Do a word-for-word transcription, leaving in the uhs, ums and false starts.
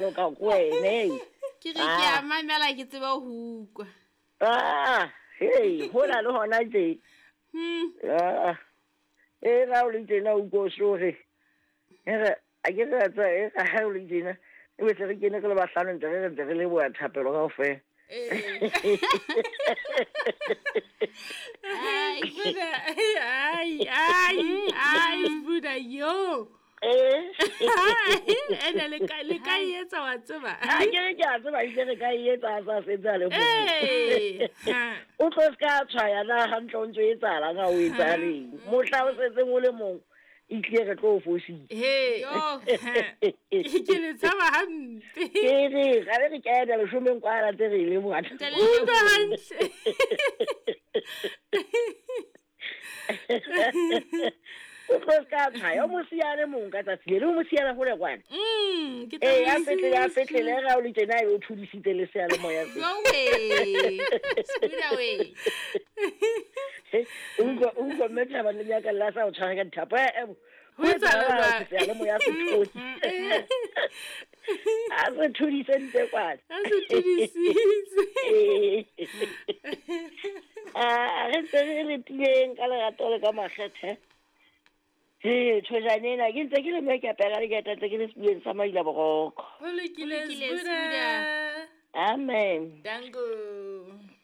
Ka ko wene. Ke re ke a mamela ke tseba ho ukwa. Ah, hei, hona le hona tje. Hmm. Ah. E ra o le tjena o ko sore. E re a ke re tsa e ra ha o le tjena. E be se re kene re le bahlano ntse re ntse re leboha thapelo kaofela. Ai, Buda, ai, ai, ai, Buda, yo. Eh. Ene le ka le ka e etsa wa tseba. Ha ke re ke a tseba ebile re ka e etsa a sa setse a le mong. Ee, ha. O tlo se ka tshwaya na hantle o ntso etsahalang ha o etsahaleng. Mohla o setseng o le mong, e tlile re tlo o fositse. He. Yo. Ha. Ke le tshaba hampe. Ke re ga be re kena leshomeng kwana tse re e leboha. Ntse le Utlwa leboha. hantle. O tlo se ka tshwaya, o mo siya a le mong ka tsatsi le le, o mo siyela hole kwana. Mm, ke tla Ee, a mo fetlele, a siya. fetlele, ga o le tjena ebe o thudisitse le seyalemoya se. Yo we. Sbuda we. O utlwa o utlwa mme Thaba le nyaka la sa o tshwara ka dithapo. Eh, eh, Ho ho etsahala etsahala jwang? seyalemoya se thotse. A se thudise ntle kwana. A se thudisitse. Ee. Ah, re ntse re letileng ka lerato le ka makgethe. He, thojane ena, ke ntse ke le mme ke apera le ke ntse ke le sebuleng sa Maila Boroko. Ho lokile, Ho lokile, Sbuda. Sbuda. Amen. Danko.